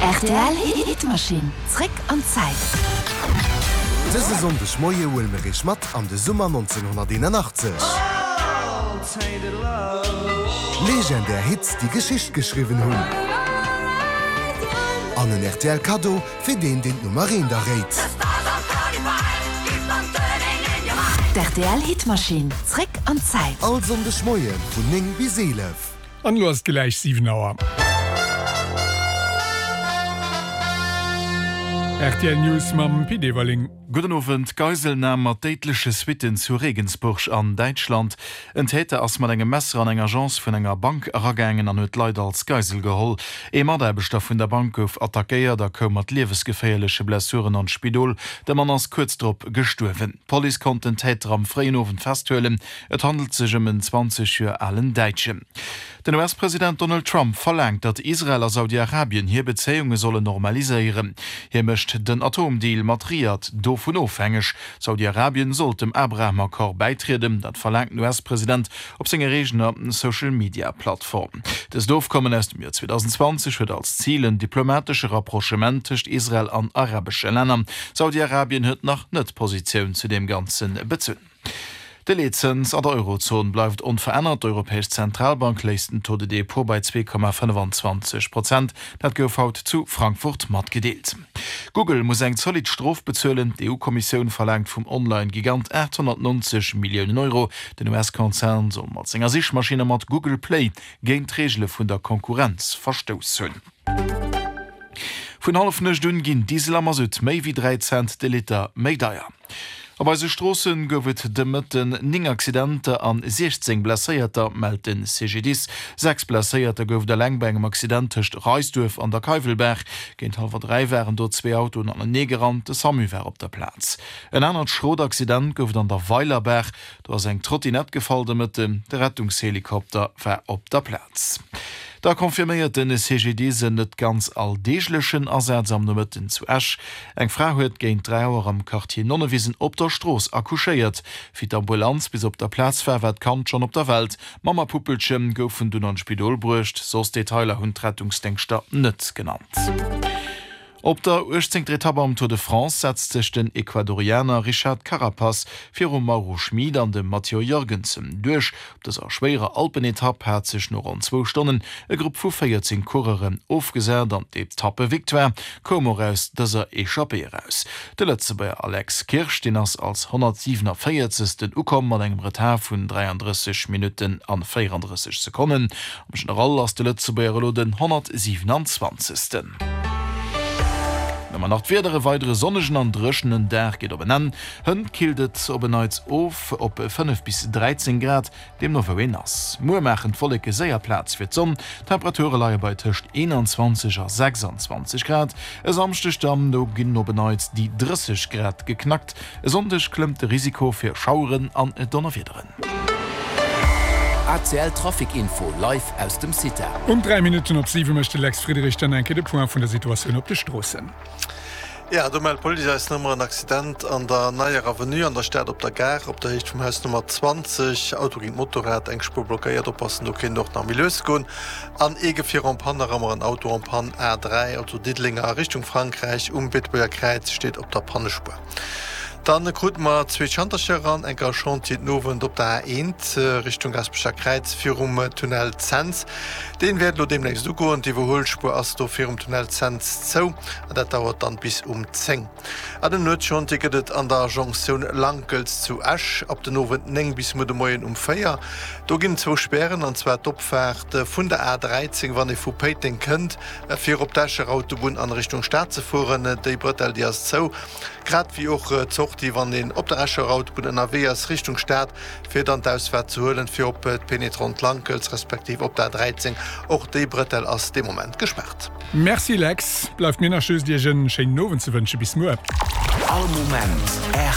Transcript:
Rtl Hitmaschinn, zréck an d'Zäit. Dëse Sonndeg Moie huele mir iech mat an de Summer 1981. Legendär Hits, déi Geschicht geschriwwen hunn. An en rtl Kaddo fir deen, deen d'Nummer eent erréit. D'RTL Hitmaschinn, zréck an d'Zäit. All Sonndeg Moie vun 9 bis 11. An elo ass et gläich 7 Auer. Rtl News mam Pit Everling. Gudden Owend. Geiselnam mat déidleche Suitten zu Regensburg an Däitschland. En Täter ass mat engem Messer an eng Agence vun enger Bank eragaangen an huet Leit als Geisel geholl. Ee Mataarbechter vun der Bank gouf attackéiert a koum mat liewesgeféierleche Blessuren an d'Spidol. De Mann ass kuerz drop gestuerwen. D'Police konnt den Täter am fréien Owend festhuelen. Et handelt sech ëm en 20 Joer alen Däitschen. Den US-President Donald Trump verlaangt, datt Israel a Saudi-Arabien hir Bezéiunge sollen normaliséieren. Hie mécht den Atomdeal mat Riad dovun ofhängeg. Saudi-Arabien sollt dem Abraham-Accord bäitrieden, dat verlaangt den US-President op senger eegener Social-Media-Plattform. Dëst Ofkommen aus dem Joer 2020 huet als Zil en diplomatesche Rapprochement tëscht Israel an arabesche Länner. Saudi-Arabien huet nach net Positioun zu deem Ganze bezunn. De Leetzëns an der Eurozon bleift onverännert. D'Europäesch Zentralbank léisst den Taux de dépôt bei 2,25 Prozent. Dat gouf haut zu Frankfurt matgedeelt. Google muss eng zolidd Strof bezuelen. D'EU-Kommissioun verlaangt vum Online-Gigant 890 Milliounen Euro. Den US-Konzern soll mat senger Sichmaschinn a mat Google Play géint d'Reegele vun der Konkurrenz verstouss hunn. Vun Hallefnuecht un ginn Diesel a Masutt méi wéi 3 Cent de Liter méi deier. Op eise Stroosse gouf et de Mëtten 9 Accidenter an 16 Blesséierter, mellt de CGDIS. 6 Blesséierter gouf et eleng bei engem Accident tëscht Reisduerf an der Keiwelbaach. Géint hallwer 3 waren do zwee Autoen anenee gerannt, de Samu war op der Plaz. En anert schrot Accident gouf et an der Weilerbaach. Do ass eng Trottinett gefall de Mëtten. De Rettungshelikopter war op der Plaz. Da confirméiert de CGDIS en net ganz alldeeglechen Asaz am Nomëtten zu Esch. Eng Fra huet géint 3 Auer am Quartier Nonnewisen op der Strooss accouchéiert. Wéi d'Ambulanz bis op der Plaz war, war d'Kand schonn op der Welt. Mamm a Puppelche goufen dunn an d'Spidol bruecht. Soss Detailer hunn d'Rettungsdéngschter net genannt. Op der uechtzéngter Etapp am Tour de France setzt sech den Ecuadorianer Richard Carapaz virum Mauro Schmid an dem Matteo Jorgensen duerch. Op dëser schwéierer Alpenetapp hat sech no ronn zwou Stonnen e Grupp vu 14 Coureuren ofgesat an d'Etappevictoire koum och aus dëser Echappée eraus. De Lëtzebuerger Alex Kirsch, deen ass als 147. Ukomm mat engem Retard vun 33 Minutten an 34 Sekonnen. Am General ass de Lëtzebuerger elo den 127. Dann hu mer nach d'Wieder, E weidere sonnegen an dréchenen Dag geet op en Enn. Hënt killt et op en Neits of op 5 bis 13 Grad, deemno wou een ass. Muer maachen d'Wolleke séier Plaz fir d'Sonn, d'Temperature leie bei tëscht 21 a 26 Grad. E Samschdeg dann, do ginn op en Neits déi 30 Grad geknackt. E Sonndeg klëmmt de Risiko fir Schaueren an Donnerwiederen. ACL Trafic Info live aus dem CITA. Um 3 Minutten op 7 mécht de Lex Friedrich dann eng Kéier de Point vun der Situatioun op de Stroossen. Jo, do mellt d'Police eis nach ëmmer en Accident an der Neier Avenue an der Stad op der Gare, op der Héicht vum Haus Nummer 20. Auto géint Motorrad, eng Spuer blockéiert. Oppassen, do kéint och nach méi lues goen. An ee Gefier en panne, nach ëmmer en Auto en panne, A3, also Diddeleng a Richtung Frankräich um Beetebuerger Kräiz, steet op der Pannespuer. Dann kruten mer zwee Schantercher eran, enker Chantier den Owend op der A1 Richtung Gaspecher Kräiz virum Tunnel Cents. Deen wäert elo deemnächst ugoen. D'Iwwerhuelspuer ass do virum Tunnel Cents zou an dat dauert dann bis um 10. An en Nuetschantier gëtt et an der Jonktioun Lankels zu Esch ab den Owend 9 bis muer de Moien um 4. Do ginn et zwou Spären an zwar d'Opfaart vun der A13 wann ee vu Péiteng kënnt fir op d'Escher Autobunn an Richtung Stad ze fueren. Déi Brëtell déi ass zou. Grad wéi och d'Sortie, wann een op der Escher Autobunn ënnerwee ass Richtung Stad, fir dann d'Ausfaart ze huelen, fir op d'Pénétrante Lankels respektiv op d'A13. Och déi Bretelle ass dee Moment gespaart. Merci Lex, bleift mir nach just iech en schéinen Owend ze wënschen. Bis muer. All Moment rtl.